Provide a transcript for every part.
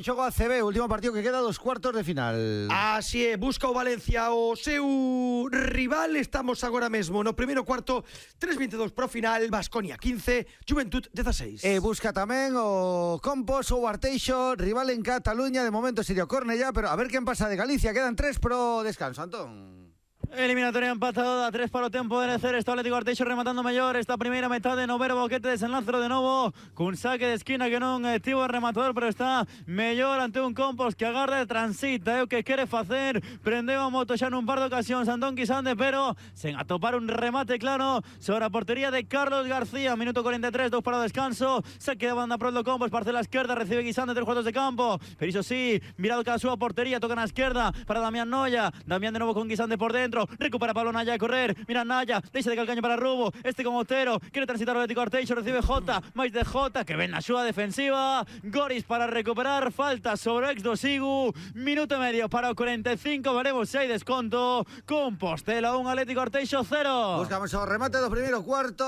Xogo ACB, último partido que queda dos cuartos de final. Así é, busca o Valencia o seu rival. Estamos agora mesmo no primeiro cuarto, 3:22 pro final. Baskonia 15, Juventud 16. E busca tamén o Compos ou Arteixo, rival en Cataluña. De momento sería o Cornellá, pero a ver quen pasa de Galicia. Quedan 3 pro descanso, Antón. Eliminatoria empatada, 3 para o tempo de Necer. Está o Atlético Arteixo rematando mellor esta primeira metade no Vero Boquete. Desenlazo de novo cun saque de esquina que non tivo o rematador, pero está mellor ante un Compos que agarda e transita, é o que quere facer. Prendeu a moto xa nun par de ocasións Antón Quisande, pero sen atopar un remate claro sobre a portería de Carlos García. Minuto 43, 2 para o descanso. Saque de banda pro do Compos, parcela esquerda, recibe Quisande 3 cuartos de campo, pero iso sí, mirado cada súa portería, toca na esquerda para Damián Noia. Damián de novo con Quisande por dentro, recupera Pablo Naya a correr, mira Naya, deixa de calcaño para Rubo, este con Otero, quere transitar o Atlético Arteixo, recibe Jota, máis de Jota, que ven na súa defensiva, Goris para recuperar, falta sobre o ex do Sigu, minuto e medio para o 45, veremos se hai desconto, Compostela 1, Atlético Arteixo 0. Buscamos o remate do primeiro cuarto,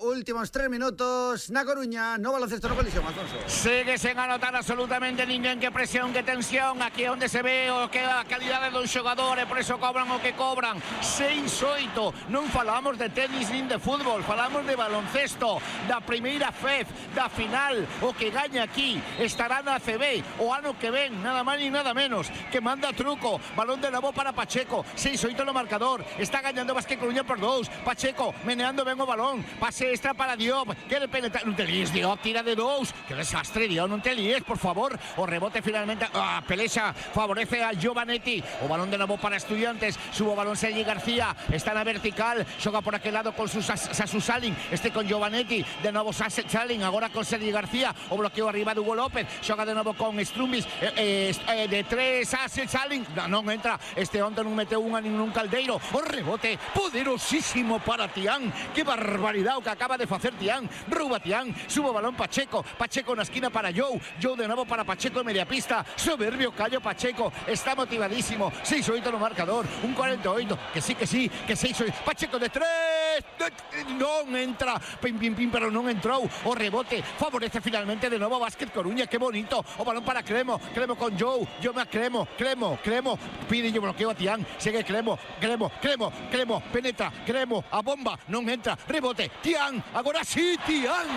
últimos 3 minutos, na Coruña, no baloncesto no colisión, Alfonso. Sigue sen anotar absolutamente ninguén, que presión, que tensión, aquí onde se ve o que a calidade dos xogadores, por eso cobran o que cobran. 6-8, non falamos de tenis nin de fútbol, falamos de baloncesto, da primeira FEF, da final. O que gaña aquí estará na ACB o ano que ven, nada máis ni nada menos, que manda truco, balón de novo para Pacheco, 6-8 no marcador, está gañando Vázquez Coruña por 2, Pacheco meneando ben o balón, pase extra para Diop, quere penetrar, non te líes Diop, tira de 2, que desastre Diop, non te líes, por favor, o rebote finalmente, Pelexa favorece a Giovanetti, o balón de novo para Estudiantes, subo balón Sergi García, está na vertical, xoga por aquel lado con Sasu Salin, este con Giovanetti, de novo Salin, agora con Sergi García, o bloqueo arriba de Hugo López, xoga de novo con Strumbis, de 3 Salin, non entra, este onte non meteu unha nin un caldeiro, o rebote poderosísimo para Tián, que barbaridade o que acaba de facer Tián, rouba Tián, subo balón Pacheco, Pacheco na esquina para Joe de novo para Pacheco en media pista, soberbio Cayo Pacheco, está motivadísimo, 6-8 no marcador, un 48, que sí, 6-8, Pacheco de 3, non entra, pero non entrou, o rebote favorece finalmente de novo Vázquez Coruña, que bonito, o balón para Cremo con Joe me a Cremo, pide yo bloqueo a Tián, sigue Cremo, penetra, Cremo, a bomba, non entra, rebote, Tián, agora sí, Tián,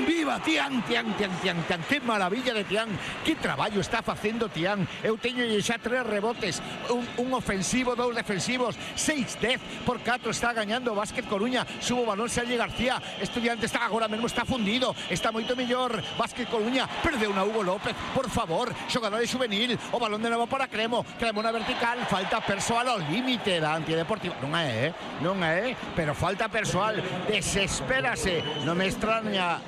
viva, Tián, que maravilla de Tián, que traballo está facendo Tián, eu teño xa 3 rebotes, un ofensivo, 2 defensivos, 6-10 por 4 está gañando Vázquez Coruña, subo balón Sergi García, Estudiante está agora mesmo, está fundido, está moito mellor Vázquez Coruña, perdeu na Hugo López, por favor, xogador de juvenil, o balón de novo para Cremo na vertical, falta persoal ao límite da Antideportiva, non é, pero falta persoal, desespérase, non me extraña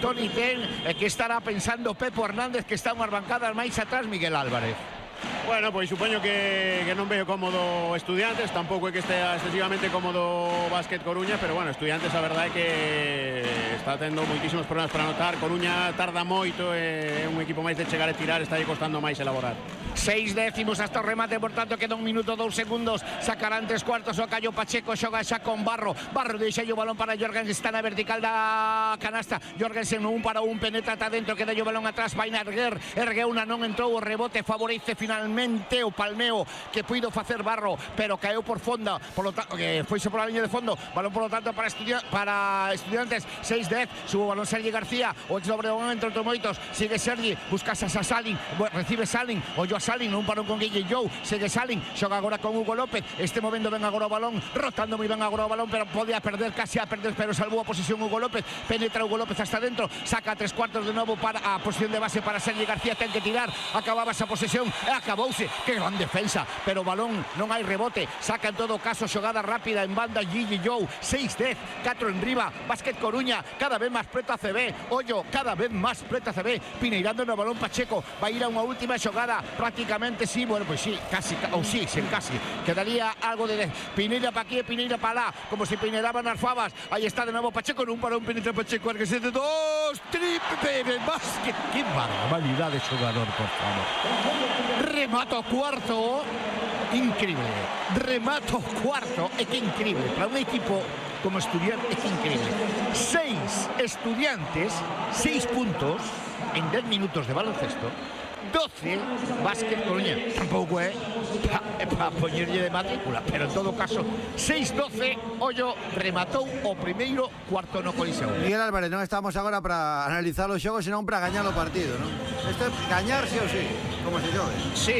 Toni Ten, que estará pensando Pepo Hernández, que está unhas bancadas máis atrás Miguel Álvarez. Bueno, pois supoño que non veo cómodo Estudiantes, tampouco é que estea excesivamente cómodo Vázquez Coruña, pero bueno, Estudiantes a verdade é que está tendo moitísimos problemas para anotar, Coruña tarda moito, é un equipo máis de chegar e tirar, está costando máis elaborar. 6 décimos hasta o remate, por tanto queda 1 minuto 2 segundos, sacarán 3 cuartos o Cayo Pacheco, xoga xa con Barro deixa o balón para Jorgensen, está na vertical da canasta, Jorgensen 1 para 1, penetra ata dentro, queda o balón atrás, vai na ergueu unha, non entrou, o rebote favorece finalmente o palmeo que puido facer Barro, pero caeu por fonda, polo tanto, foise pola liña de fondo, balón polo tanto para Estudiantes, 6-10, subo balón Sergi García, o ex Obregón entre outros moitos, sigue Sergi, busca a Salin, recibe Salin, o yo Salin, un parón con Guille Joe, segue Salin, xoga agora con Hugo López, este movendo ben agora o balón, rotando moi ben agora o balón, pero podía perder, casi a perder, pero salvou a posición Hugo López, penetra Hugo López hasta dentro, saca 3 cuartos de novo para a posición de base para Sergi García, ten que tirar, acababa esa posesión, e acabouse, que gran defensa, pero balón, non hai rebote, saca en todo caso xogada rápida en banda Guille Joe, 6-10, 4 en riba, Vázquez Coruña, cada vez máis preto a CB, Ollo, cada vez máis preto a CB, pineirando no balón Pacheco, vai ir a unha última xogada, prácticamente sí, bueno, pues sí, casi, ou sí, sen casi, quedaría algo de Pineira para aquí, Pineira para lá, como se pineiraban as fabas, aí está de novo Pacheco, nun para un penetra Pacheco, erguese de 2, triple, Vázquez, que barbaridade de xogador, por favor. Remato cuarto, increíble, remato cuarto, é que increíble, para un equipo como Estudiantes, é que increíble, 6 Estudiantes, 6 puntos en 10 minutos de baloncesto, 12 Básquet Coruña. Tampouco é para poñerlle de matrícula, pero en todo caso 6-12, Ollo rematou o primeiro cuarto no Coliseo. Miguel Álvarez, non estamos agora para analizar os xogos, senón para gañar o partido, non? Isto é gañar sí ou sí, como se xogue. Sí,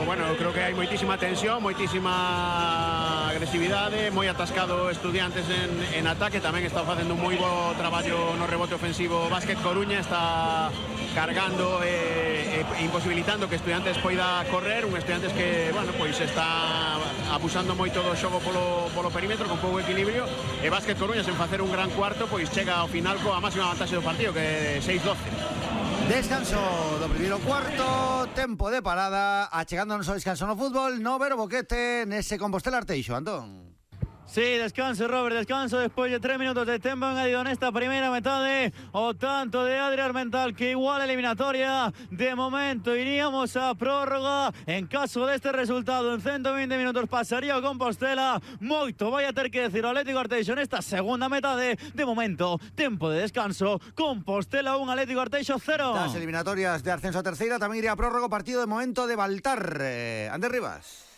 bueno, creo que hai moitísima tensión, moitísima agresividade, moi atascado Estudiantes en ataque, tamén está facendo un moi bo traballo no rebote ofensivo Básquet Coruña, está cargando e imposibilitando que Estudiantes poida correr, un Estudiantes que, bueno, pois está abusando moito do xogo polo perímetro con pouco equilibrio, e Básquet Coruña sen facer un gran cuarto, pois chega ao final coa máxima vantaxe do partido, que é 6-12. Descanso do primeiro cuarto, tempo de parada, achegándonos ao descanso no fútbol, no Vero Boquete nese Compostela Arteixo, Antón. Sí, descanso, Robert, descanso después de 3 minutos de tiempo añadido en esta primera metade. O tanto de Adrián Armental que igual eliminatoria. De momento iríamos a prórroga. En caso de este resultado, en 120 minutos pasaría o Compostela. Moito vai a ter que decir o Atlético Arteixo en esta segunda metade. De momento, tempo de descanso. Compostela 1, Atlético Arteixo 0. Las eliminatorias de ascenso a terceira tamén iría a prórroga, partido de momento de Baltar. Ander Rivas.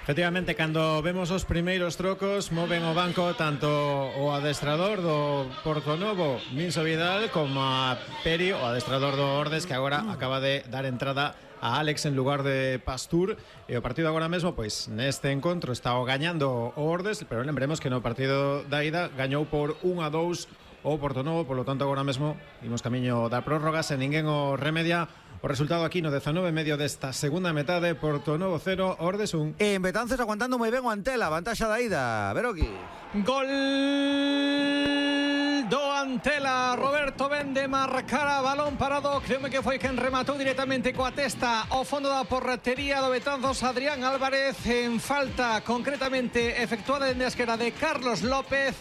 Efectivamente, cando vemos os primeiros trocos, moven o banco tanto o adestrador do Portonovo, Minso Vidal, como a Peri, o adestrador do Ordes, que agora acaba de dar entrada a Alex en lugar de Pastur. E o partido agora mesmo, pois, neste encontro está o gañando o Ordes, pero lembremos que no partido da ida gañou por 1-2 o Portonovo, polo tanto agora mesmo imos camiño da prórroga, sen ninguén o remedia. O resultado aquí no 19 medio desta segunda metade, Portonovo 0, Ordes 1. En Betanzos aguantando moi ben o Antela, vantaxa da ida, Veroki. Gol do Antela, Roberto vende marcar a balón parado, creo que foi quen rematou directamente coa testa ao fondo da portería do Betanzos, Adrián Álvarez, en falta concretamente efectuada dende a esquerda de Carlos López.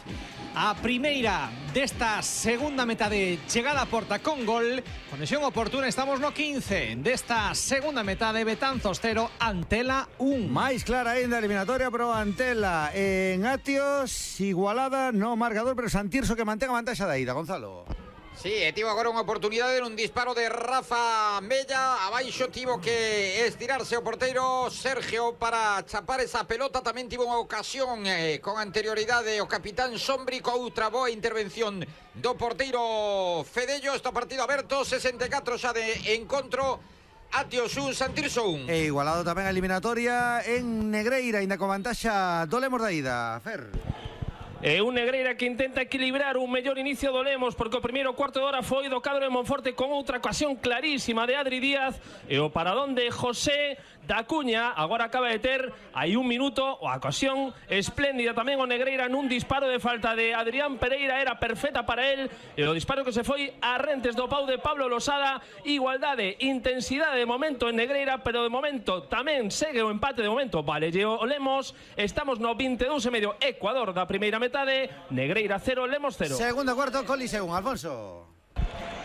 A primeira desta segunda metade chegada a porta con gol. Conexión oportuna, estamos no 15 desta segunda metade, Betanzos 0, Antela 1. Máis clara ainda a eliminatoria pro Antela. En Atios, igualada no marcador, pero Santirso que mantén a vantaxa da ida, Gonzalo. Sí, tivo agora unha oportunidade nun disparo de Rafa Mella. Abaixo tivo que estirarse o porteiro Sergio para chapar esa pelota. Tamén tivo unha ocasión con anterioridade o capitán Sombri, co outra boa intervención do porteiro Fedello. Este partido aberto, 64 xa de encontro. Atios 1, Santirso 1. E igualado tamén a eliminatoria en Negreira, ainda con vantaxa do Lemos da ida, Fer. Un Negreira que intenta equilibrar un mellor inicio do Lemos, porque o primeiro cuarto de hora foi do cadro de Monforte con outra ocasión clarísima de Adri Díaz e o paradón de José da Cuña. Agora acaba de ter aí un minuto a ocasión espléndida tamén o Negreira nun disparo de falta de Adrián Pereira, era perfecta para él, e o disparo que se foi a rentes do pau de Pablo Losada. Igualdade, intensidade de momento en Negreira, pero de momento tamén segue o empate de momento. Vale, o Lemos, estamos no 22 e medio, Ecuador da primeira metade. Negreira 0, Lemos 0. Segundo cuarto, Coliseo, Alfonso.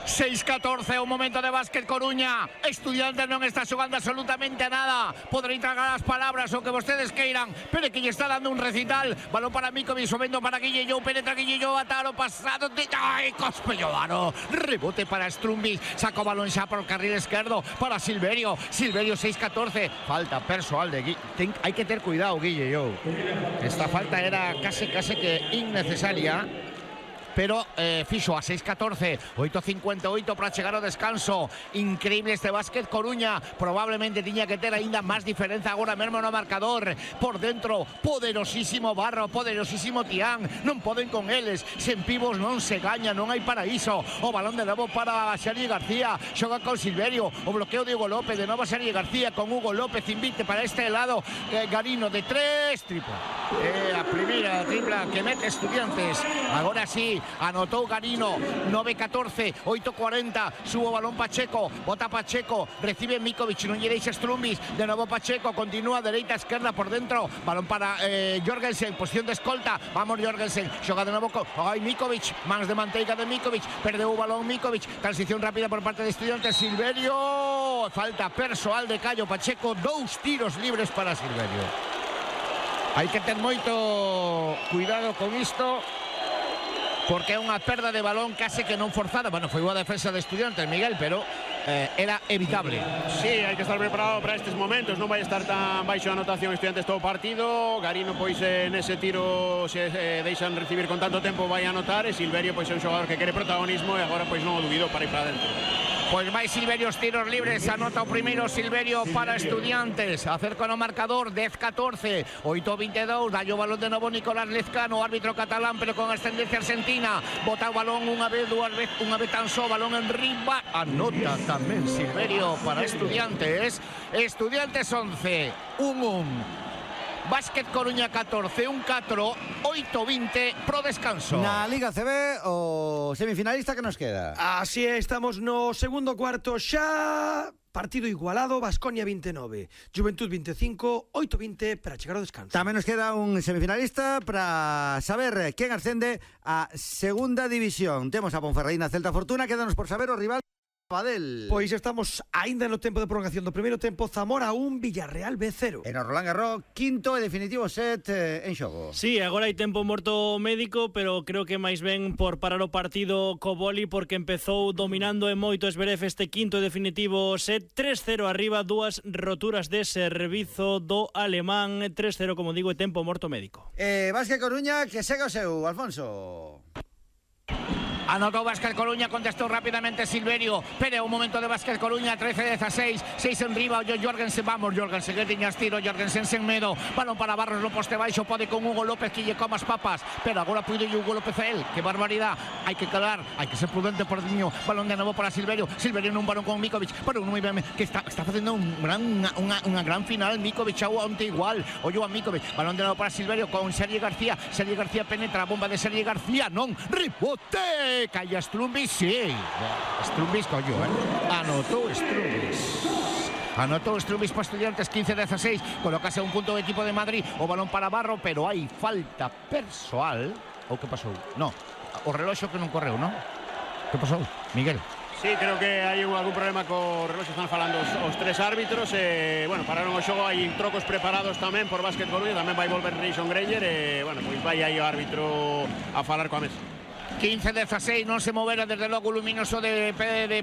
6-14, un momento de Básquet Coruña. Estudiantes non está xogando absolutamente a nada. Podrei tragar as palabras o que vostedes queiran, pero que lle está dando un recital. Balón para Mikovic, subindo para Guille Jou, penetra Guille Jou, ataro pasado de... ¡Ay, Cospellodano! Rebote para Strumbis, saca o balón xa por o carril esquerdo para Silverio. Silverio 6-14, falta persoal de Guille. Hai que ter cuidado, Guille Jou. Esta falta era case que innecesaria, pero fixo a 6-14, 8-58 para chegar ao descanso. Increíble este Básquet Coruña, probablemente tiña que ter aínda máis diferenza agora mesmo no marcador. Por dentro, poderosísimo Barro, poderosísimo Tián, non poden con eles, sen pivos non se gaña, non hai paraíso. O balón de novo para Sergi García, xoga con Silverio, o bloqueo de Hugo López, de novo Sergi García con Hugo López, invite para este lado, Garino de 3, tripla. A primeira tripla que mete Estudiantes, agora sí. Anotó Garino, 9-14, 8-40, subo balón Pacheco, bota Pacheco, recibe Mikovic, non lle deixa Strumbis, de novo Pacheco, continúa dereita, esquerda, por dentro, balón para Jorgensen, posición de escolta, vamos Jorgensen, xoga de novo, Mikovic, mans de manteiga de Mikovic, perdeu o balón Mikovic, transición rápida por parte de Estudiantes, Silverio, falta persoal de Cayo Pacheco, 2 tiros libres para Silverio. Hai que ter moito cuidado con isto, porque é unha perda de balón case que non forzada. Bueno, foi boa defensa de Estudiantes, Miguel, pero era evitable. Sí, hai que estar preparado para estes momentos, non vai estar tan baixo a anotación Estudiantes todo o partido. Garino pois nese tiro se deixan recibir con tanto tempo vai anotar, e Silverio pois é un xogador que quere protagonismo e agora pois non o dubido para ir para dentro. Pois vai Silverio os tiros libres, anota o primeiro Silverio para Estudiantes, acerca no marcador 10-14, 8-22, dai o balón de novo Nicolás Lezcano, árbitro catalán pero con ascendencia argentina, bota o balón unha vez, dúas vez, unha vez tan só, balón en riba, anota tamén Silverio para Estudiantes. Estudiantes 11, 1-1. Básquet Coruña 14, 1-4, 8-20 pro descanso. Na Liga CB, o semifinalista que nos queda. Así é, estamos no segundo cuarto xa. Partido igualado, Baskonia 29, Juventud 25, 8-20 para chegar ao descanso. Tamén nos queda un semifinalista para saber quen ascende a segunda división. Temos a Ponferradina Celta Fortuna, quédanos por saber o rival Badel. Pois estamos aínda no tempo de prolongación do primeiro tempo. Zamora 1, Villarreal B0. En o Roland Garros, quinto e definitivo set en xogo. Sí, agora hai tempo morto médico, pero creo que máis ben por parar o partido co boli, porque empezou dominando en moito Zverev este quinto e definitivo set. 3-0 arriba, dúas roturas de servizo do alemán. 3-0, como digo, e tempo morto médico. Básquet Coruña, que segue o seu, Alfonso. Anotó Básquet Coruña, contestó rápidamente Silverio, pero un momento de Básquet Coruña, 13-16, 6 en riba, Jorgensen, vamos Jorgensen, que tiñas tiro, Jorgensen sen medo, balón para Barros no poste baixo, pode con Hugo López que lle coma as papas, pero agora puide Hugo López a él, que barbaridad, hai que calar, hai que ser prudente por niño, balón de novo para Silverio, Silverio nun balón con Mikovic, pero non moi ben, que está facendo unha gran final, Mikovic a onte igual, ollo a Mikovic, balón de novo para Silverio con Sergi García penetra a bomba de Sergi García, non, rebote! Calla Strumbis, sí. Strumbis, coño, Anotó Strumbis para Estudiantes, 15-16. Colocase un punto do equipo de Madrid. O balón para Barro, pero hai falta persoal. O que pasou? No, o reloxo que non correu, non? Que pasou, Miguel? Sí, creo que hai algún problema co reloxo, están falando os tres árbitros, bueno, pararon o xogo, hai trocos preparados tamén por Básquet Coruña, tamén vai volver Nation Granger, bueno, pois vai aí o árbitro a falar coa mesa. 15-16, non se movera desde logo o luminoso de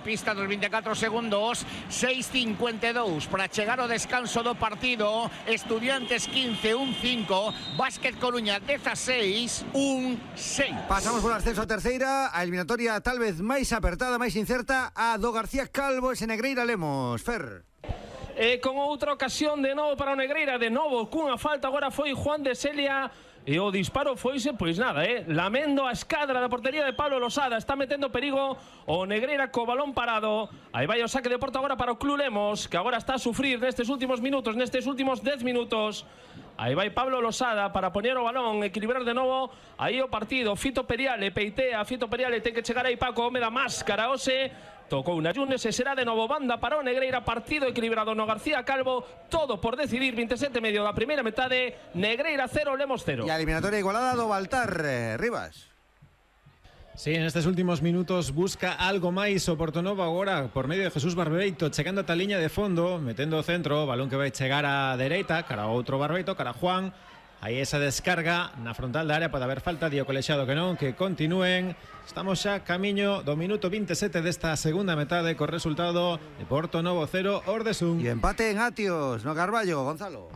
pista dos 24 segundos. 6-52 para chegar ao descanso do partido. Estudiantes 15-1-5, Básquet Coruña 16-1-6. Pasamos por ascenso a terceira, a eliminatoria tal vez máis apertada, máis incerta, a do García Calvo e Negreira Lemos. Fer. Con outra ocasión de novo para o Negreira, de novo cunha falta, agora foi Juan de Celia. E o disparo foise, pois nada, lamendo a escadra da portería de Pablo Losada. Está metendo perigo o Negreira co balón parado. Aí vai o saque de porta agora para o Club Lemos, que agora está a sufrir nestes últimos minutos, nestes últimos 10 minutos. Aí vai Pablo Losada para poñer o balón, equilibrar de novo aí o partido. Fito Periale peitea, Fito Periale ten que chegar aí Paco, home da máscara, Ose. Tocou na Yunes e será de novo banda para o Negreira, partido equilibrado no García Calvo, todo por decidir, 27 medio da primeira metade, Negreira 0, Lemos 0. E a eliminatoria igualada do Baltar, Rivas. Sí, en estes últimos minutos busca algo máis o Portonovo agora por medio de Jesús Barbeito, chegando ata a liña de fondo, metendo o centro, balón que vai chegar á dereita, cara ao outro Barbeito, cara a Juan. Aí esa descarga na frontal da área, pode haber falta, dio colexiado que non, que continúen. Estamos xa camiño do minuto 27 desta segunda metade co resultado de Portonovo 0, Ordesún. E empate en Atios, no Carballo, Gonzalo.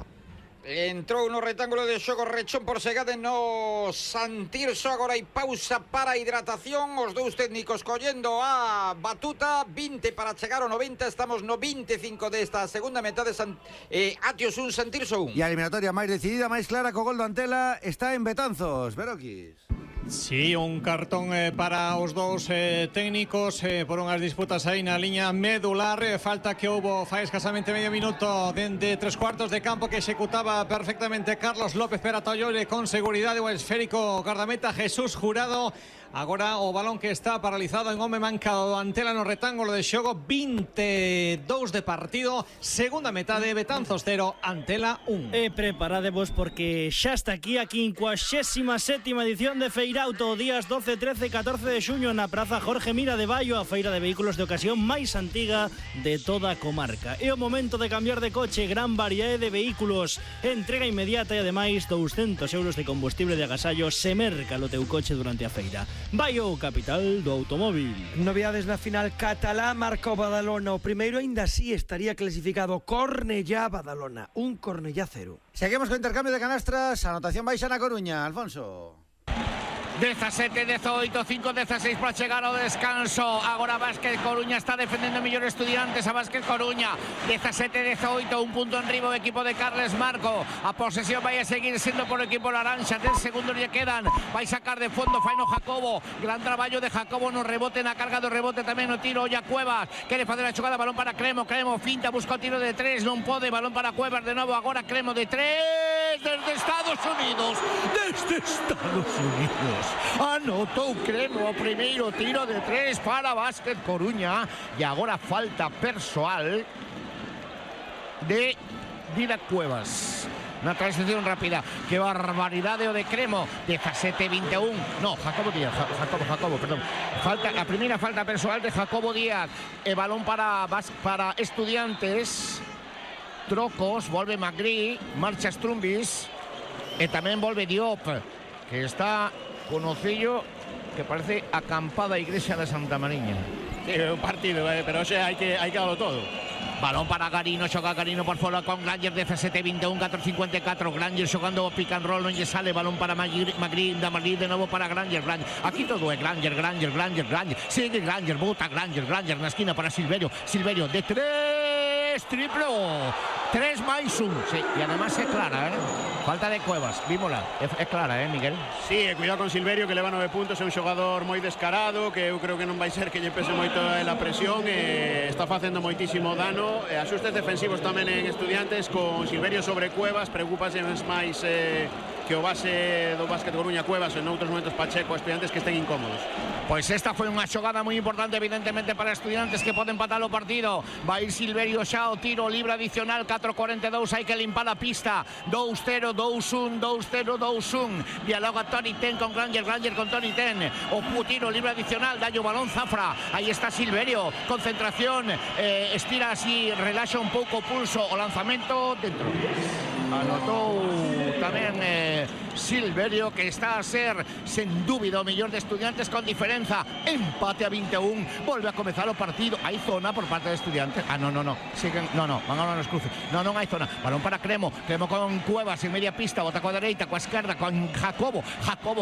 Entrou no rectángulo de xogo Rechón por Segade no Santirso. Agora hai pausa para hidratación. Os dous técnicos collendo a batuta. 20 para chegar ao 90. Estamos no 25 desta segunda metade. Atios 1, Santirso 1. E a eliminatoria máis decidida, máis clara, co gol do Antela, está en Betanzos. Veroquis. Sí, un cartón para os dous técnicos por unhas disputas aí na liña medular. Falta que houbo fai escasamente medio minuto dende 3/4 de campo que executaba perfectamente Carlos López Peratollore con seguridade o esférico guardameta Jesús Jurado. Agora o balón que está paralizado en home mancado do Antela no retángulo de xogo. 22 de partido, segunda metade, Betanzos 0, Antela 1. E preparadevos porque xa está aquí a 57ª edición de Feirauto, días 12, 13 e 14 de xuño na Praza Jorge Mira de Baio, a feira de vehículos de ocasión máis antiga de toda a comarca. É o momento de cambiar de coche, gran variedade de vehículos, entrega inmediata e ademais 200 euros de combustible de agasallo se merca o teu coche durante a feira. Baio, capital do automóvil. Novidades na final catalá, marca o Badalona. O primeiro aínda así estaría clasificado. Cornellá Badalona, 1 Cornellá 0. Seguimos con intercambio de canastras. Anotación baixa na Coruña, Alfonso. 17-18, 5-16 para chegar ao descanso. Agora Básquet Coruña está defendendo mellor Estudiantes a Básquet Coruña. 17-18, un punto enriba o equipo de Carles Marco. A posesión vai a seguir sendo por o equipo laranxa. 10 segundos lle quedan. Vai sacar de fondo Faino Jacobo. Gran traballo de Jacobo no rebote, na carga do rebote tamén no tiro. Olla Cuevas quere facer a xogada, balón para Cremo. Cremo finta, busca o tiro de 3, non pode. Balón para Cuevas de novo. Agora Cremo de 3 desde Estados Unidos. Desde Estados Unidos. Anotou Cremo o primeiro tiro de 3 para Básquet Coruña. E agora falta persoal de Didac Cuevas. Na transición rápida. Que barbaridade o de Cremo. 17-21. No, Jacobo Díaz. Jacobo, perdón. A primeira falta persoal de Jacobo Díaz. E balón para Estudiantes. Trocos, volve Magri, marcha Strumbis. E tamén volve Diop, que está con ocillo que parece acampada a iglesia de Santa Mariña. Sí, un partido, pero hai que darlo todo. Balón para Garino, xoga Garino por fora con Granger, 17-21, 4-54. Granger xogando o pick and roll, non lle sale. Balón para Magri de novo para Granger. Aquí todo é Granger. Sigue Granger, bota Granger na esquina para Silverio de 3, triplo. 3 máis 1. Sí, e además é clara, falta de Cuevas, vímola, é clara, Miguel? Sí, cuidado con Silverio, que leva 9 puntos, é un xogador moi descarado, que eu creo que non vai ser que lle pese moito a presión, está facendo moitísimo dano, asustes defensivos tamén en Estudiantes, con Silverio sobre Cuevas, preocupase máis que o base do Básquet Coruña Cuevas, en outros momentos Pacheco, Estudiantes que estén incómodos. Pois esta foi unha xogada moi importante, evidentemente, para Estudiantes, que pode empatar o partido. Vai ir Silverio xa o tiro libre adicional, 4-42, hai que limpar a pista. 2-0, 2-1, 2-0, 2-1. Dialoga Tony Ten con Granger con Tony Ten. O tiro libre adicional, dalle o balón Zafra. Aí está Silverio, concentración, estira así, relaxa un pouco o pulso, o lanzamento dentro. Anotou tamén Silverio, que está a ser sen dúbida o mellor de Estudiantes con diferenza. Empate a 21, volve a comezar o partido. Hai zona por parte de Estudiantes. No, siguen, van ahora nos cruces. Non hai zona. Balón para Cremo con Cuevas en media pista, bota coa dereita, coa esquerda con Jacobo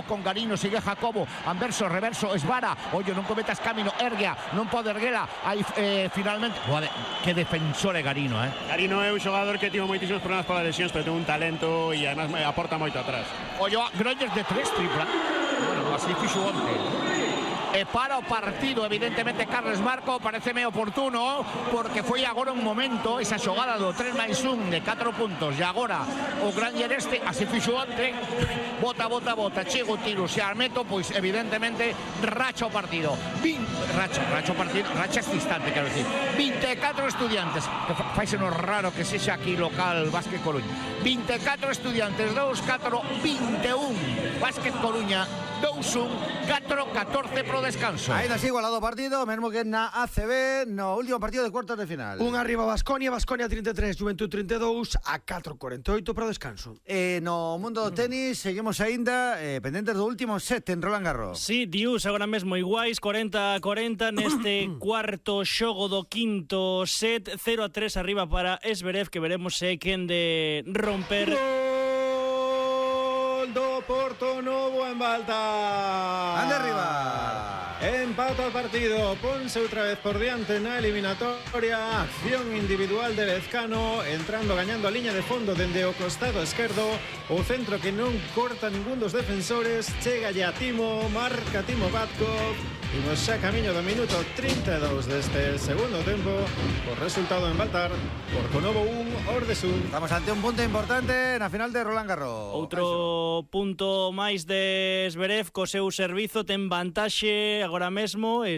con Garino, sigue Jacobo, anverso, reverso, esvara, ollo, non cometas camino, erguea, non pode erguela. Aí finalmente, que defensor é Garino, Garino é un xogador que tivo moitísimos problemas polas lesións, pero ten un talento e además aporta moito atrás. Ollo, Granger de 3 tripla. Bueno, así fixo onte. Para o partido, evidentemente, Carles Marco, pareceme oportuno, porque foi agora un momento, esa xogada do 3+1 de 4 puntos, e agora o Granger así fixo onte, bota, chego o tiro, se armeto, pois evidentemente racha o partido. Racha este instante, quero dicir. 24 Estudiantes, que faise no raro que sexa aquí local Básquet Coruña. 24 Estudiantes, 2-4, 21. Básquet Coruña, 2-1, 4-14 pro descanso. Aí así igualado o partido, mesmo que na ACB, no último partido de cuartos de final. Un arriba Baskonia 33, Juventud 32, a 4-48 pro descanso. No mundo do tenis, seguimos aínda pendentes do último set en Roland Garros. Sí, Dius, agora mesmo iguais, 40-40 neste cuarto xogo do quinto set, 0-3 arriba para Esberev, que veremos se quen de romper. Do Porto Novo en Balta. Ande arriba. Empata o partido, ponse outra vez por diante na eliminatoria. Acción individual de Lezcano, entrando, gañando a liña de fondo dende o costado esquerdo. O centro que non corta ningún dos defensores. Chega ya Timo, marca Timo Batkov. Imos xa camiño do minuto 32 deste segundo tempo. Por resultado en Baltar, Porto Novo 1, Ordesún. Estamos ante un punto importante na final de Roland Garros. Outro punto máis de Zverev co seu servizo, ten vantaxe agora mesmo, e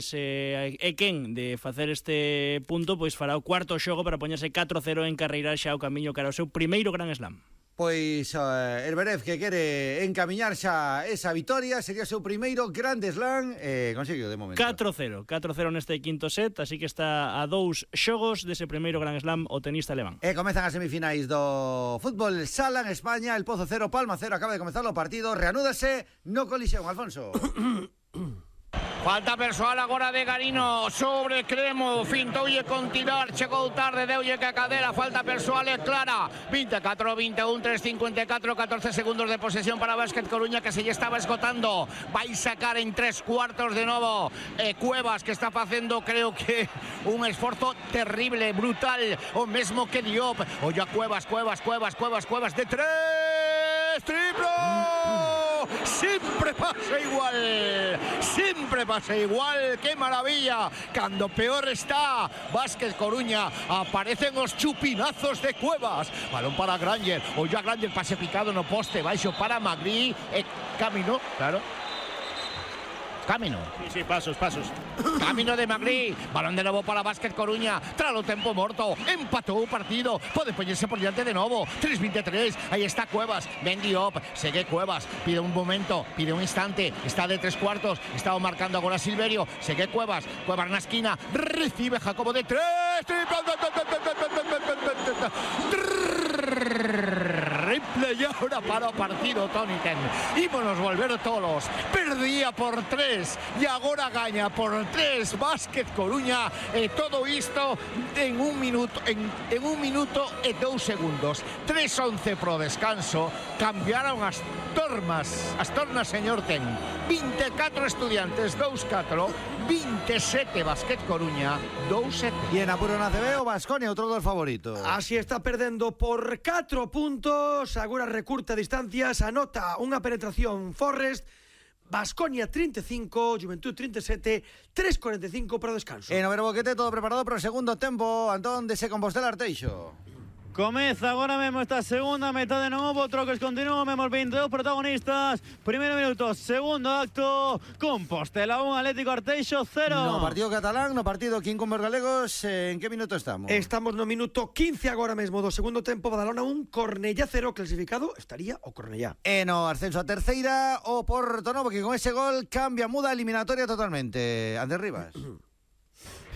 quen de facer este punto pois fará o cuarto xogo para poñerse 4-0 en carreirar xa o camiño cara ao seu primeiro Gran Slam. Pois Zverev, que quere encamiñar xa esa vitoria, sería o seu primeiro Grand Slam, conseguiu de momento 4-0 neste quinto set, así que está a 2 xogos dese primeiro Grand Slam o tenista alemán. E comezan as semifinais do fútbol sala en España. El Pozo 0, Palma 0, acaba de comezar o partido. Reanúdase no Colisión, Alfonso. Falta persoal agora de Garino sobre Cremo, fintoulle con tirar, chegou tarde, deulle que a cadera, falta persoal é clara. 24, 21, 3, 54, 14 segundos de posesión para Básquet Coruña, que se lle estaba esgotando. Vai sacar en 3 cuartos de novo Cuevas, que está facendo, creo que, un esforzo terrible, brutal, o mesmo que Diop. Olla Cuevas de 3, triplo. Siempre pasa igual, qué maravilla. Cuando peor está Básquet Coruña, aparecen los chupinazos de Cuevas. Balón para Granger, Olla Granger, pase picado no poste, baixo para Magri, camino, claro. Camino. Sí, pasos. Camino de Magri. Balón de novo para Básquet Coruña. Tralo tempo morto. Empatou o partido. Pode poñerse por diante de novo. 3-23. Aí está Cuevas. Ben Diop. Segue Cuevas. Pide un momento. Pide un instante. Está de 3 cuartos. Estaba marcando agora Silverio. Segue Cuevas. Cuevas na esquina. Recibe Jacobo de 3. Replay ahora para o partido, Toni Ten. Ímonos volver tolos. Perdía por 3 e agora gaña por 3 Básquet Coruña, e todo isto en 1 minuto e 2 segundos. 3-11 pro descanso. Cambiaron as tornas, señor Ten. 24 Estudiantes, 2-4, 27 Básquet Coruña, 2-7. E en apuro na CB o Baskonia, outro dos favoritos. Así está perdendo por 4 puntos. Agora recurta distancias, anota unha penetración Forrest. Baskonia 35, Juventud 37, 3:45 para o descanso. En Overo Boquete, todo preparado para o segundo tempo. Antón de Se Compostela Arteixo. Comeza agora mesmo esta segunda metade de novo, troques continuos, mesmo 22 protagonistas. Primeiro minuto, segundo acto, Compostela 1, Atlético Arteixo 0. No partido catalán, no partido que incumbe os galegos, en que minuto estamos? Estamos no minuto 15 agora mesmo do segundo tempo. Badalona 1, Cornellá 0, clasificado estaría o Cornellá. E no ascenso a terceira, o Porto Novo, que con ese gol cambia, muda a eliminatoria totalmente. Andrés Rivas.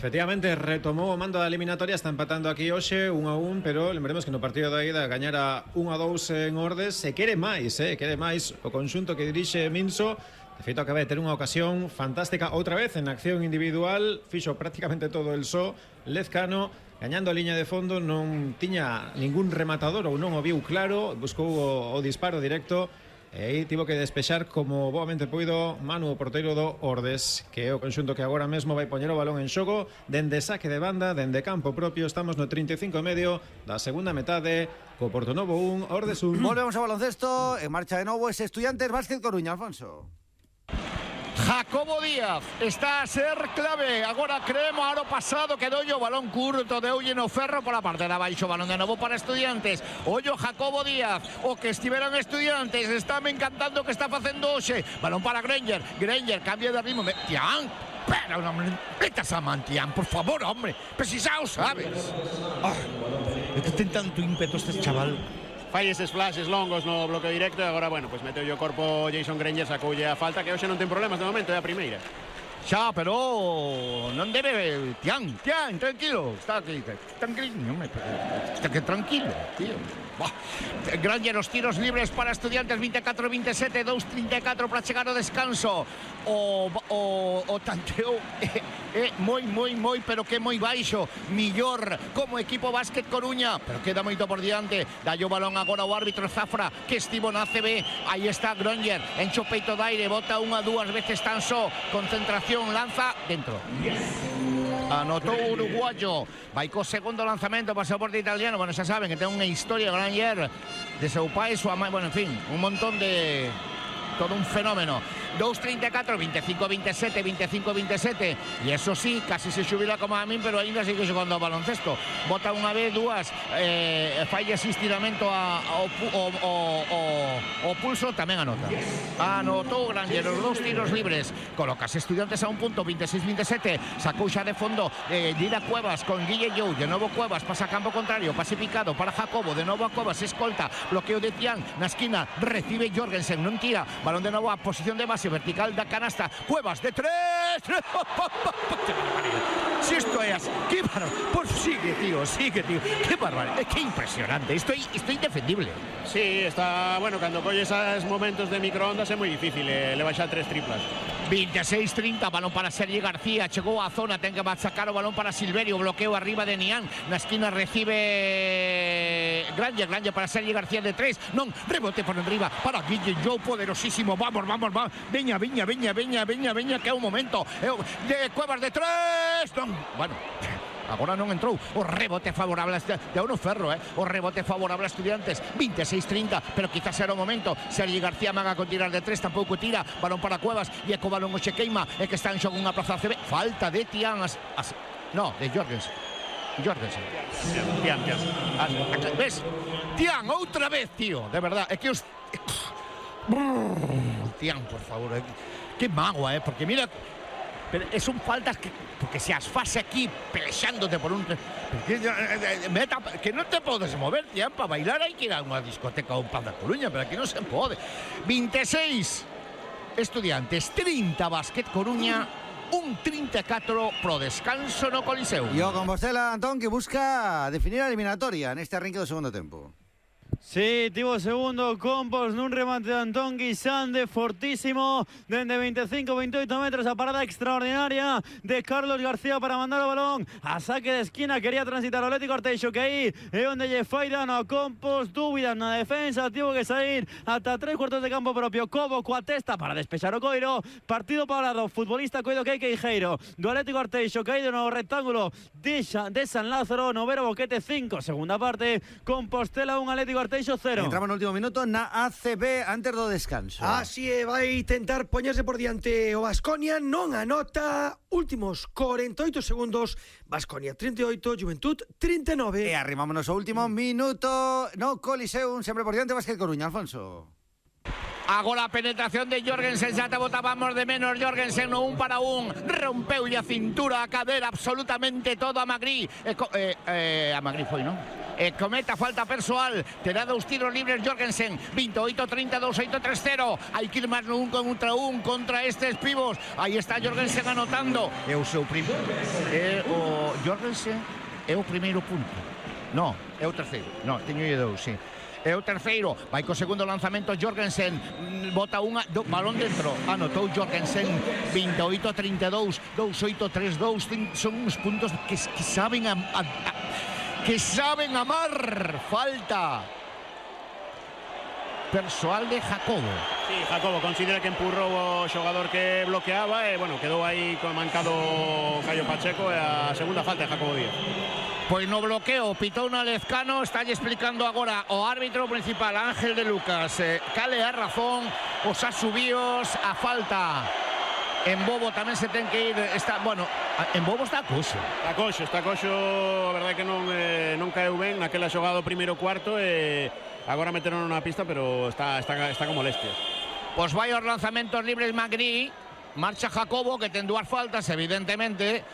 Efectivamente, retomou o mando da eliminatoria, está empatando aquí hoxe 1-1, pero lembremos que no partido da ida gañara 1-2 en Ordes. Se quere máis o conxunto que dirixe Minso. De feito, acaba de ter unha ocasión fantástica outra vez en acción individual, fixo prácticamente todo el só. Lezcano, gañando a liña de fondo, non tiña ningún rematador ou non o viu claro, buscou o disparo directo. E aí tivo que despexar como boamente puido Manu, o porteiro do Ordes, que é o conxunto que agora mesmo vai poñer o balón en xogo dende saque de banda, dende campo propio. Estamos no 35 e medio da segunda metade, co Porto Novo 1, Ordes 1. Volvemos ao baloncesto, en marcha de novo ese Estudiantes Básquet Coruña, Alfonso. Jacobo Díaz está a ser clave. Agora Cremo, aro pasado quedou o balón curto, deulle no ferro por a parte de abaixo. Balón de novo para Estudiantes. Ollo Jacobo Díaz, o que estiveran Estudiantes. Está me encantando o que está facendo hoxe. Balón para Granger, cambia de ritmo. Tian, pero non metas a Mantian, por favor, hombre. Pero si xa o sabes. Ten tanto ímpeto este chaval. Fai eses flashes longos no bloqueo directo e agora, bueno, pues meteu o corpo Jason Granger, sacoulle a falta, que hoxe non ten problemas de momento, é a primeira. Xa, pero non debe... Tian, tranquilo. Está aquí, tranquilo, tío. Granger, os tiros libres para Estudiantes, 24-27, 2-34 para chegar ao descanso. O tanteo é moi, pero que moi baixo. Millor como equipo Básquet Coruña, pero queda moito por diante. Dallo o balón agora o árbitro Zafra, que estivo na CB. Aí está Granger, encho peito de aire, bota unha, dúas veces tan só. Concentración, lanza dentro. Anotou o uruguayo. Vai co segundo lanzamento para o soporte italiano. Bueno, xa saben que ten unha historia Granger de seu pai, súa mãe, bueno, en fin, un montón de... todo un fenómeno. 2-34, 25-27, 25-27. E eso sí, casi se xubila como a min, pero ainda sigue xogando ao baloncesto. Bota unha vez, dúas, falla ese estiramento ao pulso, tamén anota. Anotou Granger os 2 tiros libres. Colocas Estudiantes a un punto, 26-27. Sacou xa de fondo Dida Cuevas con Guille Jou. De novo Cuevas, pasa a campo contrario, pase picado para Jacobo. De novo a Cuevas, escolta, bloqueo de Tian na esquina, recibe Jorgensen, non tira. Balón de novo a posición de base vertical da canasta. Cuevas de 3. Si esto é así, qué barbaridad. Pues sigue, tío. Qué barbaridad. Qué impresionante. Estoy indefendible. Sí, está, bueno, cando colle esos momentos de microondas é moi difícil, le baixar 3 triplas. 26-30, balón para Sergi García, chegou á zona, ten que machacar o balón para Silverio, bloqueo arriba de Nián, na esquina recibe Granger para Sergi García de 3, non, rebote por enriba para Guille Jou, poderosísimo, vamos, veña, que é un momento, de Cuevas de 3, non, bueno, agora non entrou, o rebote favorable de Uno Ferro, o rebote favorable a Estudiantes, 26-30, pero quizás era o momento. Sergi García maga con tirar de 3, tampouco tira, balón para Cuevas, e co balón o che queima, e que está en xogo unha plaza CB, falta de Tian, no, de Jorgensen. Tian. ¿Ves? Tian, outra vez, tío, de verdad, é que os... Tian, por favor, que mágoa, porque mira... Pero son faltas porque se as fase aquí pelexándote por un... que non te podes mover, tía, para bailar hai que ir a unha discoteca ou un Paz da Coruña, pero aquí non se pode. 26 Estudiantes, 30 Básquet Coruña, un 34 pro descanso no Coliseo. Yo con Bostela, Antón, que busca definir a eliminatoria neste arranque do segundo tempo. Sí, tivo segundo Compos nun remate de Antón Guisande fortísimo dende 25-28 metros, a parada extraordinaria de Carlos García para mandar o balón a saque de esquina, quería transitar o Atlético Arteixo, que aí é onde lle fai dano a Compos, dúbidas na defensa, tivo que sair ata 3 cuartos de campo propio, Cobo coa testa para despexar o coiro, partido parado, futbolista coido que Queijeiro do Atlético Arteixo, caído no rectángulo de San Lázaro, Novero Boquete 5, segunda parte, Compostela 1, Atlético Arteixo 0. Entramos no último minuto na ACB antes do descanso. Así é, vai tentar poñerse por diante o Baskonia, non anota, últimos 48 segundos, Baskonia 38, Juventud 39. E arrimámonos ao último minuto no Coliseum, sempre por diante Básquet Coruña, Alfonso. Agora a penetración de Jorgensen, xa te botábamos de menos. Jorgensen no 1 para 1, rompeu a cintura, a cadera, absolutamente todo a Magri. A Magri foi, non? Cometa falta persoal, terá 2 tiros libres Jorgensen, 28-32, 8-3-0, hai que ir máis no 1 contra estes pibos, aí está Jorgensen anotando, é o seu primeiro, o Jorgensen é o primeiro punto, non, é o terceiro, non, teño lle 2, sí. É o terceiro, vai co segundo lanzamento Jorgensen, bota balón dentro, anotou Jorgensen, 28-32, 2-8-3-2, son uns puntos que saben que saben amar. Falta persoal de Jacobo. Sí, Jacobo considera que empurrou o xogador que bloqueaba e, bueno, quedou aí mancado Caio Pacheco e a segunda falta de Jacobo Díaz. Pois no bloqueo, pitou na Lezcano, está explicando agora o árbitro principal, Ángel de Lucas, cale a razón, os asubíos, a falta. En Bobo tamén se ten que ir, en Bobo está coxo. Está coxo, a verdade que non caeu ben naquela xogada do primeiro cuarto e agora meteron na pista, pero está con molestias. Pois vai aos lanzamentos libres Magri, marcha Jacobo, que ten 2 faltas, evidentemente.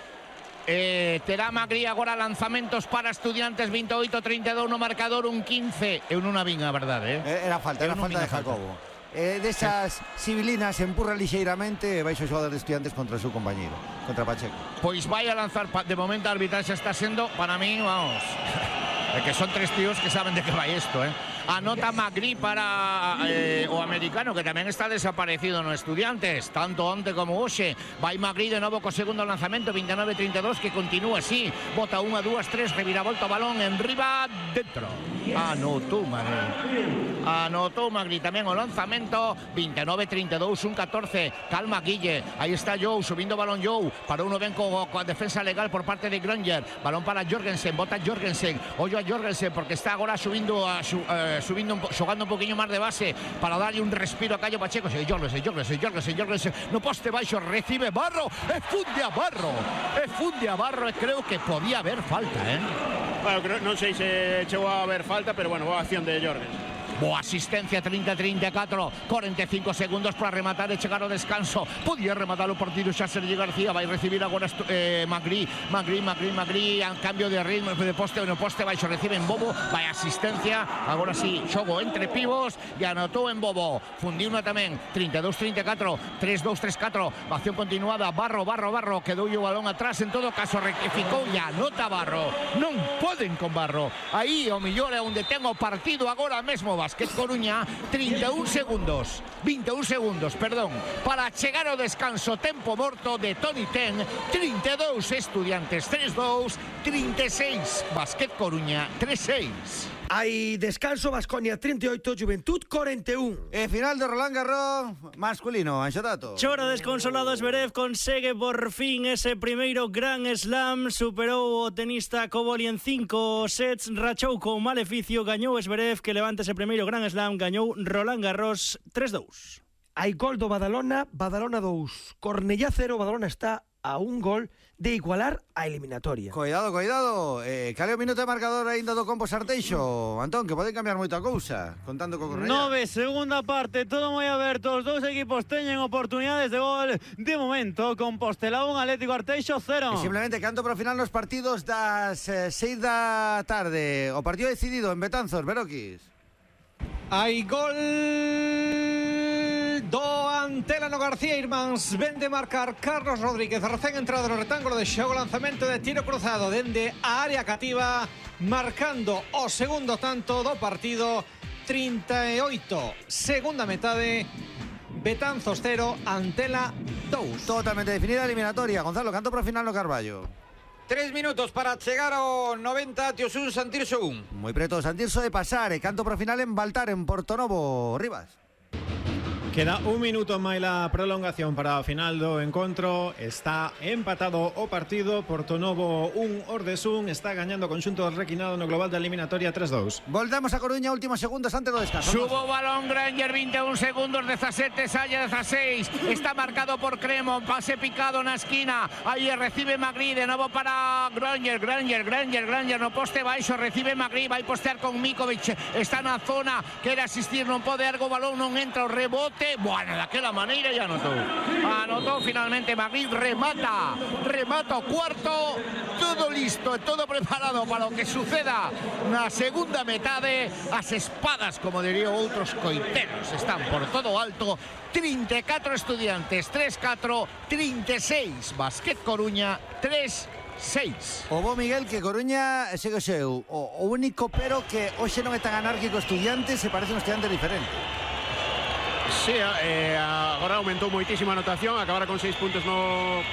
Terá Magri agora lanzamentos para Estudiantes, 28-32 no marcador, un 15. Eu non a vin, a verdade. Era falta de Jacobo. Desas civilinas empurra lixeiramente, vai o xogador de Estudiantes contra o seu compañeiro, contra Pacheco. Pois vai a lanzar, de momento a arbitraxe está sendo, para mí, vamos, que son 3 tíos que saben de que vai isto, Anota Magri para o americano, que tamén está desaparecido no Estudiantes, tanto onte como hoxe. Vai Magri de novo co segundo lanzamento, 29-32, que continúa así, bota 1, 2, 3, reviravolta o balón en riba, dentro. Anotou Magri tamén o lanzamento, 29-32, un 14, calma Guille, aí está Jou, subindo o balón Jou, para uno ben coa defensa legal por parte de Granger, balón para Jorgensen, bota Jorgensen, ollo a Jorgensen, porque está agora xogando un poquinho máis de base para darlle un respiro a Caio Pacheco. Jorgensen no poste baixo, recibe Barro e funde a Barro e creo que podía haber falta, Bueno, non sei se chegou a haber falta, pero bueno, boa acción de Jorgensen. Boa asistencia, 30-34, 45 segundos para rematar e chegar ao descanso. Podía rematar o partido xa Sergi García, vai recibir agora Magri, a cambio de ritmo de poste, no poste baixo recibe en Bobo, vai asistencia, agora sí, xogo entre pivos e anotou en Bobo, fundiu na tamén, 32-34, 3-2-3-4, acción continuada, Barro, quedou o balón atrás, en todo caso rectificou e anota Barro, non poden con Barro, aí o mellor é onde ten o partido agora mesmo Básquet Coruña, 21 segundos, para chegar ao descanso tempo morto de Toni Ten, 32 Estudiantes 3-2, 36 Básquet Coruña 3-6. Hai descanso, Baskonia 38, Juventud 41. E final de Roland Garros masculino, Anxo Tato. Chora desconsolado Zverev, consegue por fin ese primeiro Grand Slam, superou o tenista Koboli en 5 sets, rachou con maleficio, gañou Zverev, que levanta ese primeiro Grand Slam, gañou Roland Garros 3-2. Hai gol do Badalona, Badalona 2, Cornellá 0, Badalona está a un gol de igualar a eliminatoria. Cuidado. Cale o minuto de marcador aínda do Campos Arteixo. Antón, que poden cambiar moita cousa, contando co Cornellá. 9, segunda parte, todo moi aberto. Os dous equipos teñen oportunidades de gol. De momento, Compostela 1, Atlético Arteixo 0. E simplemente canto para o final nos partidos das 6 da tarde. O partido decidido en Betanzos, Beroquis. Hai gol do Antelano García Irmáns. Ven de marcar Carlos Rodríguez, recén entrado no retángulo de xogo, lanzamento de tiro cruzado dende a área cativa, marcando o segundo tanto do partido. 38, segunda metade, Betanzos 0, Antela 2. Totalmente definida a eliminatoria. Gonzalo, canto para o final no Carballo. 3 minutos para chegar ao 90, Tiosun Santirso 1. Moi preto Santirso de pasar e canto para o final en Baltar, en Portonovo, Rivas. Queda un minuto máis la prolongación para o final do encontro. Está empatado o partido. Portonovo 1, Ordesún está gañando o conxunto requinado no global da eliminatoria 3-2. Voltamos a Coruña, últimos segundos antes do descanso. Subo balón Granger, 21 segundos, 17, Saya 16. Está marcado por Cremo, pase picado na esquina. Aí recibe Magri, de novo para Granger, no poste baixo, recibe Magri, vai postear con Mikovic. Está na zona, quere asistir, non pode ergo, balón non entra, o rebote. Bueno, daquela maneira ya anotó finalmente Magri, remata o cuarto, todo listo, todo preparado para lo que suceda na segunda metade. As espadas, como diría outros coiteros, están por todo alto. 34 Estudiantes, 3-4, 36 Básquet Coruña, 3-6. O bo Miguel que Coruña segue o seu. O único pero que hoxe non é tan anárquico Estudiantes, se parece un Estudiante diferente. Sí, agora aumentou moitísimo a anotación, acabara con 6 puntos no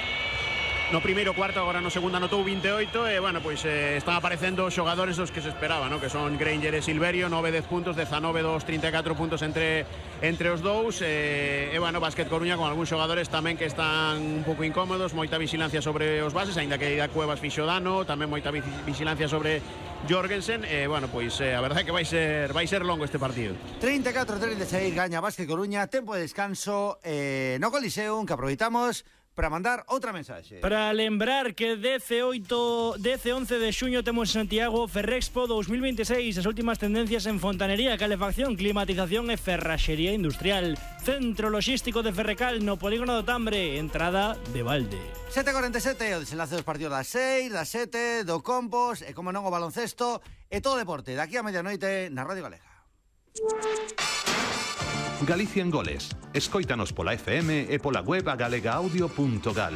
primeiro cuarto, agora no segundo anotou 28 e, bueno, pois están aparecendo xogadores dos que se esperaba, ¿no? Que son Granger e Silverio, 9-10 puntos, 19-2, 34 puntos entre os dous e, bueno, Básquet Coruña con algúns xogadores tamén que están un pouco incómodos, moita vigilancia sobre os bases, aínda que Ida Cuevas fixo dano, tamén moita vigilancia sobre Jorgensen, bueno, pois a verdade é que vai ser longo este partido. 34-36 gaña Básquet Coruña, tempo de descanso no Coliseum, que aproveitamos para mandar outra mensaxe. Para lembrar que 11 de xuño temos en Santiago Ferrexpo 2026, as últimas tendencias en fontanería, calefacción, climatización e ferraxería industrial. Centro logístico de Ferrecal no Polígono do Tambre, entrada de balde. 7:47, o desenlace dos partidos das 6, das 7, do Compos e, como non, o baloncesto e todo o deporte. Daqui a medianoite na Radio Galega. Galicia en goles. Escóitanos pola FM e pola web agalegaaudio.gal.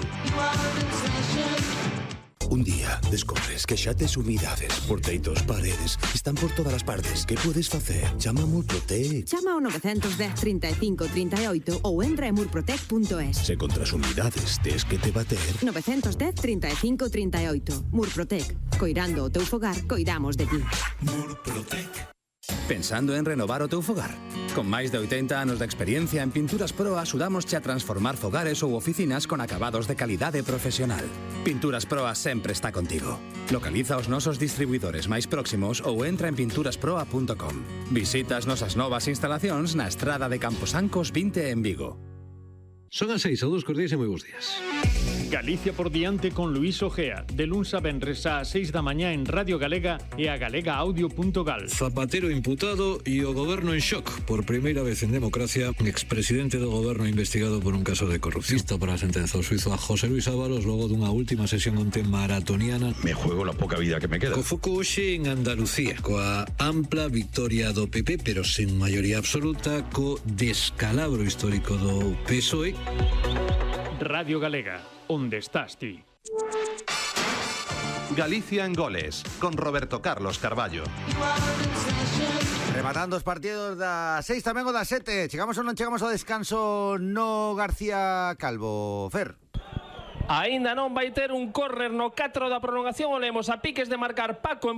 Un día descobres que xa tes humidades, porteitos, paredes, están por todas as partes. Que podes facer? Chama a Murprotec. Chama ao 910 35 38 ou entra en murprotec.es. Se contra as humidades tes que te bater. 910 35 38. Murprotec. Coirando o teu fogar, coidamos de ti. Murprotec. Pensando en renovar o teu fogar? Con máis de 80 anos de experiencia en Pinturas Pro axudamosche a transformar fogares ou oficinas con acabados de calidade profesional. Pinturas Proa sempre está contigo. Localiza os nosos distribuidores máis próximos ou entra en pinturasproa.com. Visita as nosas novas instalacións na estrada de Camposancos 20 en Vigo. Son as 6, saúdos cordiais e moi bons días. Galicia por diante con Luís Ojea, de luns a venres a 6 da mañá en Radio Galega e a galegaaudio.gal. Zapatero imputado e o goberno en shock. Por primeira vez en democracia, expresidente do goberno investigado por un caso de corrupción. Listo para a sentenza ao suizo a José Luis Ábalos logo dunha última sesión onte maratoniana. Me juego la poca vida que me queda. Co foco hoxe en Andalucía, coa ampla victoria do PP, pero sen maioría absoluta, co descalabro histórico do PSOE. Radio Galega, onde estás ti? Galicia en goles, con Roberto Carlos Carballo. Rematando os partidos da 6 tamén o da 7. Chegamos ou non chegamos ao descanso no García Calvo, Fer? Aínda non vai ter un córner no 4 da prolongación. Olemos a piques de marcar Paco en